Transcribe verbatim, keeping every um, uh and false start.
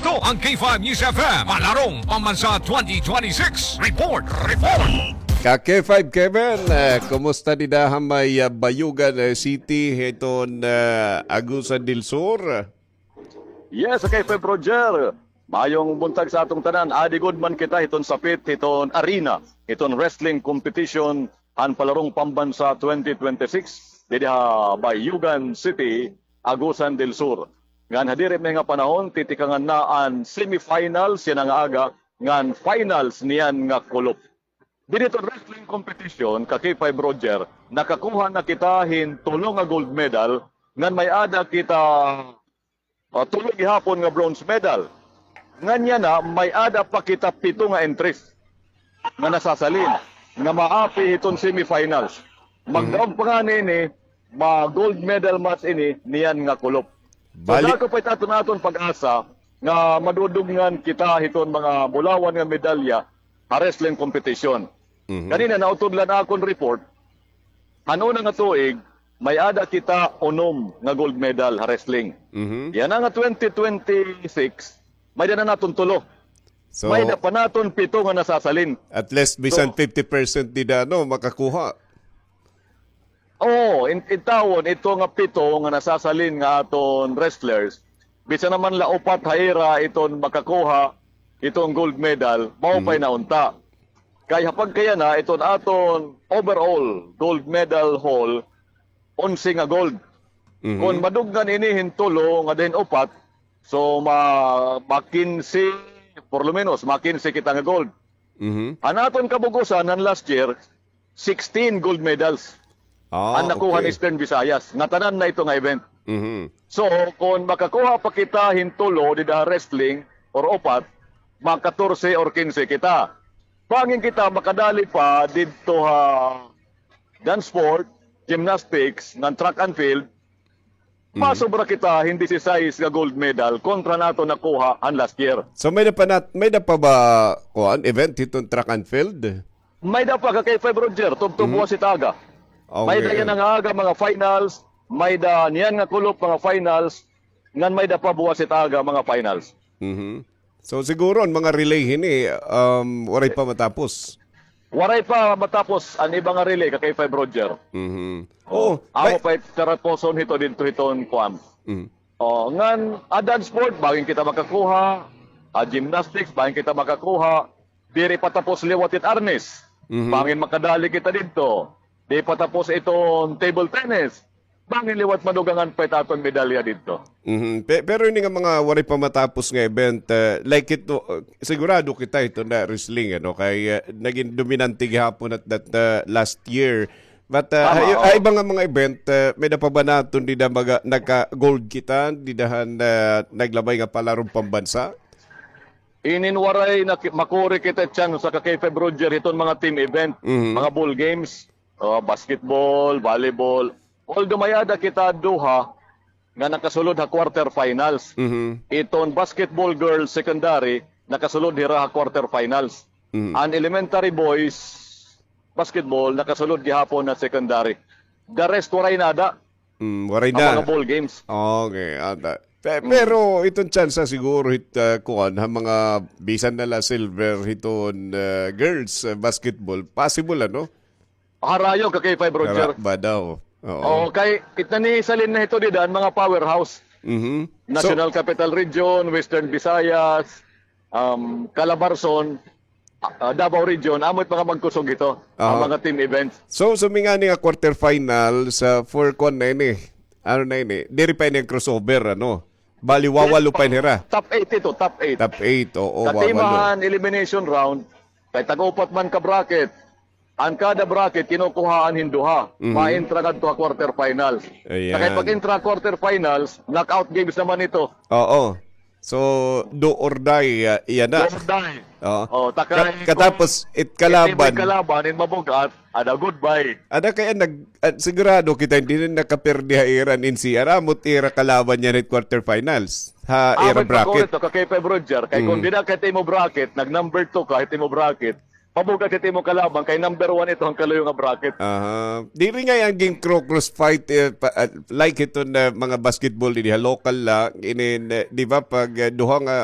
Ito ang K five News F M, Palarong Pambansa twenty twenty-six. Report, report! Ka K five Kevin, eh, kumusta dida ha may, ah, Bayugan, eh, City, hiton, eh, Agusan del Sur? Yes, K five Roger. Mayong buntag sa aton tanan. Adi gud man kita hiton sapit, hiton arena, hiton wrestling competition han Palarong Pambansa twenty twenty-six didi ha Bayugan City, Agusan del Sur. Ngan ha diri may nga panahon, titikangan na an semifinals yana nga aga, ngan finals niyan nga kulop. Didi hiton wrestling competition, ka K five Roger, nakakuha na kita hin tulo nga gold medal, ngan may-ada kita, ah, tulo gihapon nga bronze medal. Ngan yana, may-ada pa kita pito nga entries nga nasasalin, nga maapi hiton semifinals. Mhm. Magdaog pa ngani ini, ma-gold medal match ini niyan nga kulop. So, bali, dako pa it aton, aton pag-asa nga madudungan kita hiton mga bulawan nga medalya ha wrestling competition. Mhm. Kanina, nautod la an akon report, han una nga tuig, may-ada kita unom nga gold medal ha wrestling. Mhm. Yana nga twenty twenty-six, may-ada na naton tulo. So, may-ada pa naton pito nga nasasalin. At least, bisan fifty percent dida, no, makakuha. Oo, in-, intawon, ito nga pito nga nasasalin nga aton wrestlers, bisan naman la upat ha ira iton makakuha iton gold medal, maupay na unta. Kay ha pagkayana, iton aton overall gold medal haul, onse nga gold. Mhm. Kon maduggan ini hin tulo ngada hin upat, so ma-, ma-kinse, por lo menos, ma-kinse kita nga gold. Mhm. An aton kabug-osan han last year, sixteen gold medals an nakuha han Eastern Visayas, nga tanan na ito nga event. Mhm. So, kon makakuha pa kita hin tulo dida ha wrestling or upat, ma-katorse or kinse kita. Bangin kita makadali pa didto ha dance sport, gymnastics, ngan track and field, mhm, masobra kita hin disisais nga gold medal kontra han aton nakuha han last year. So, may-ada pa nat-, may-ada pa ba, kuan, event hiton track and field? May-ada pa, ka K five Roger, tubtob buwas it aga. Okay. May-ada yana nga aga, mga finals, may-ada niyan nga kulop, mga finals, ngan may-ada pa buwas it aga, mga finals. Mhm. So, siguro an mga relay hini, um, waray pa matapos. Waray pa matapos an iba nga relay, ka K five Roger. Mhm. Oh, amo pa it karapuson hito didto hiton kuan. Mhm. Oh, ngan, ah, dance sport, bangin kita makakuha. Ah, gymnastics, bangin kita makakuha. Diri pa tapos liwat it arnis. Mhm. Bangin makadali kita didto. Di pa tapos iton table tennis. Bangin liwat madugangan pa it aton medalya didto. Mhm. Pe-, pero ini nga mga waray pa matapos nga event, eh, like ito, eh, sigurado kita ito na wrestling, ano, kay, eh, naging dominante gihapon at that, eh, last year. But, eh, tama, ha, ha iba nga mga event, eh, may-ada pa ba naton dida mga nagka-gold kita, dida han, eh, naglabay nga palarong pambansa? Inin waray na ki-, makuri kita tsansa, ka K five Roger, hiton mga team event, mhm, mga ball games, oh, basketball, volleyball. Although may-ada kita duha nga nakasulod ha quarter finals. Mhm. Iton basketball girls secondary, nakasulod hira ha quarter finals. Mhm. An elementary boys basketball, nakasulod gihapon ha secondary. The rest, waray nada. Mm, waray na. An mga ball games. Okay, ata. Pe-, mm, pero iton tsansa siguro hit, ah, kuan, ha mga bisan na la silver hiton, ah, girls, ah, basketball, possible, ano? Harayo, ka K five Roger. Hara-, ba daw? Oo. Oo, kay it nanisalin na hito dida an mga powerhouse. Mhm. So, National Capital Region, Western Visayas, um, Calabarzon, ah, Davao Region, amo it mga magkusog hito, an, aha, mga team events. So, sumingani nga quarter finals, ah, for kuan na ini. Ano na ini? Diri pa ini an crossover, ano? Bali, wawalo pa ini hira. Top eight ito, top eight. Top eight, oo, wawalo. Katimahan, elimination round, kay tag-upat man ka bracket. An kada bracket, kinukuhaan hin duha. Mhm. Ma-entra ngadto ha quarter finals. Ayan. Sa kay pag-entra quarter finals, knockout games naman ito. Oo. So, do or die, ah, iyan na. Do or die. Oo. Oh, takay ka-, katapos, it kalaban. It kalaban, in mabug-at, ada goodbye. Ada kay nag-, ah, sigurado kita, hindi na nakaperde ha ira an N C R. Amo it ira kalaban niyan hit quarter finals. Ha ira bracket. Amo it makurit, no, ka K five Roger. Kay kung dida ka hit imo bracket, nag number two ka hit imo bracket, mabug-at it imo kalaban kay number one ito han kaluyo nga bracket. Aha. Diri ngay-an ging-cro-cross fight, eh, pa-, ah, like ito na mga basketball didi ha local la, inin, eh, di ba, pag, eh, duha nga